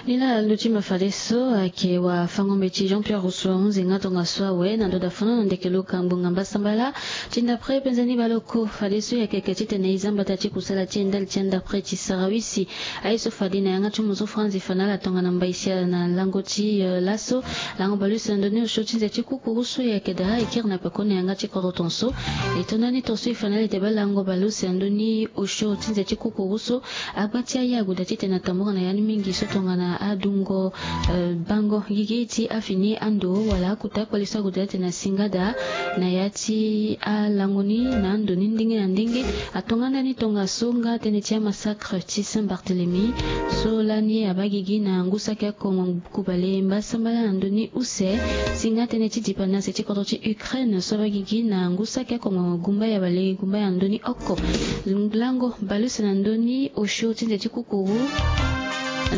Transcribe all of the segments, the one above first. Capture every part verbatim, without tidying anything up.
Ni laa ndo ti ma fadeso ayeke wafango-mbeti Jean Pierre Rousseau ahunzi nga tongaso awe na ndo da fono na ndeke luka ngbonga mbasambala ti ndapre penze ni baleoko. Fadeso e yeke yeke titene e za mbata ti kusala ti e ndali ti andapre ti sarawisi. Aye so fade na yanga ti mozo franzi fa na ala tongana mbaisia na lango ti laso. Lango baleuse na ndoni osio ti nze ti kukuru so e yeke daa e kiri na pekoni na yanga ti kodro tonso. E to ndani tonso e fa na ala ete baa lango baleuse na ndoni osio ti nze ti kukuru so, agba ti aye ague daa titene atambura na ya ni mingi so tongana adungo bango gigi ti afini ando wala akota akpali so ague daa titene asinga daa na ya ti alango ni na ando ni ndenge na ndenge. Atongana ni tongaso nga tënë ti amassacre ti Saint Barthélemy so lani abaa gigi na ngu saki akongo kubale mbasambala na ndoni use. Si nga tënë ti dipa na se ti kodro ti Ukraine so abaa gigi na ngu saki akongo gumba ya bale gumba ya ndoni oko. Lango baleuse na ndoni osio ti nze ti kukuru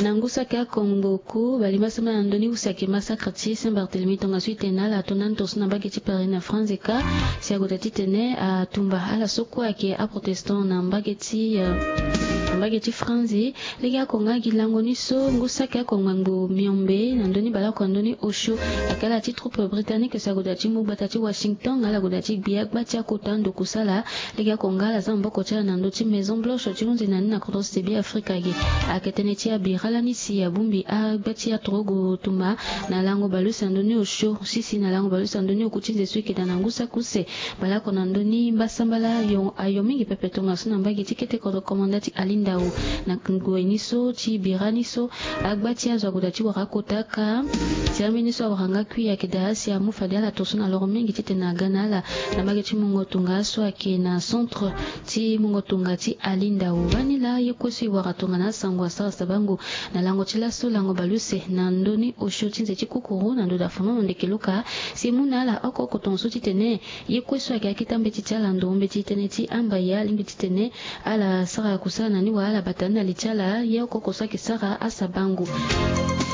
na ngu saki akongo ku bale mbasambala na ndoni use ayeke massacre ti Saint Barthélemy tongaso e tene na ala ato ndani tongaso na mbage ti Paris na France ka. Si ague daa titene atumba ala so kue ayeke aprotestant na mbage ti na mbage ti France. Lege oko nga gi lango ni so ngu saki oko ngbangbo miombe na ndoni baleoko na ndoni osio ayeke ala ti troupe britannique si ague daa ti mu gbata ti Washington ala gue daa ti gbi agba ti akota ndo kusala. Lege oko nga ala za maboko ti ala na ndö ti Maison Blanche ti hunzi na ni na kodro ti Beafrika ge. Ayeke tënë ti abira lani si abongbi agba ti atorogo tumba na lango baleuse na ndoni osio sisi na lango baleuse na ndoni oku ti nze so e yeke daa na ngu saki use. Baleoko na ndoni mbasambala ayo mingi pepe tongaso na mbage ti kete kodro komanda ti Ali Ndao. Na ngoi ni so ti bira ni so agba ti azo ague daa ti wara akota kâ. Si ambeni so awara nga kui ayeke daa si amu fade ala tongaso na loro mingi titene aga na ala na mbage ti mungo tonga so ayeke na centre ti mungo tonga ti Ali Ndao. Bani laa ye kue so e wara tongana asango asara sabango na lango ti laso lango baleuse na ndoni osio ti nze ti kukuru na ndo da fono na ndeke luka. Si e mu na ala oko oko tongaso titene ye kue so ayeke akita mbeti ti ala ndo mbeti tënë ti amba ye alingbi titene ala sara kusala na ni wala ala bata ni na li ti ala ye oko oko so ayeke sara asabango.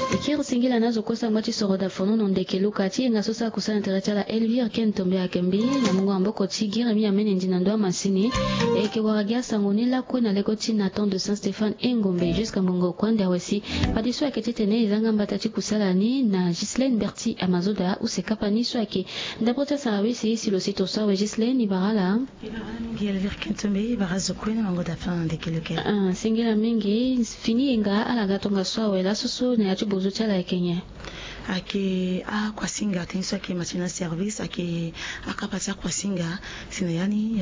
E kiri singila na azo kue so angba ti soro da fono na ndeke luka ti yenga so sara kusala na tere ti ala Elvire Ken Tombe ayeke mbi na mungo maboko ti Giremi Amenendi na ndo amasini. E yeke wara gi asango ni lakue na leko ti Nathan de Saint Stéphane Engombe jusqu'à ngongo kue ande awe si fadeso ayeke titene e za nga mbata ti kusala ni na Ghislaine Berti Amazoda use kapa ni so ayeke ndapre ti asara wisi si lo si tongaso awe Ghislaine e bara ala. E bara ala mingi Elvire Ken Tombe, e bara azo kue na mango da fono na ndeke luka. Ah, singila mingi. Fini yenga ala ga tongaso awe laso so na ya ti bozo ti ala ayeke nyen? Ayeke akuasinga tënë so ayeke matina service ayeke akapa ti akuasinga. Si na ya ni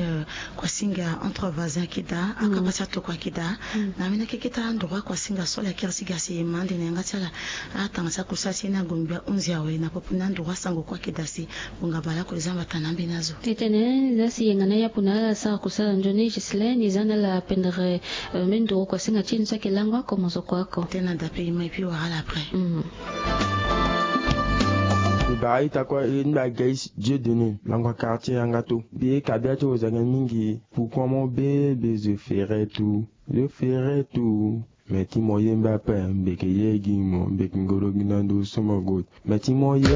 kuasinga entre voisin ayeke daa akapa ti atokua ayeke daa. Na ambeni akeke ti androit kuasinga so ala kiri si ga si e ma ande na yanga ti ala. Atanga ti akusala ti ye ni agongbi ahunzi awe na popo ni androit sango kue ayeke daa si ngonga baleoko e za mbata na ambeni azo. Titene za si yenga na yapu na ala sara kusala nzoni Ghislaine e za na ala pendere. Mendoro kuasinga ti e ni so ayeke lango oko mozoko oko. Tënë na dape e ma e puis wara ala après. E bara ita kue e ni mbi agais Dieu donné lango quartier yanga to. Mbi ye kabia ti ozange mingi. Pourquoi mo be be zo fere tu zo fere tu. Me ti mo yembe ape mbi yeke ye gi mo mbi yeke ngoro gi na ndo so mo gue. Me ti mo yembe.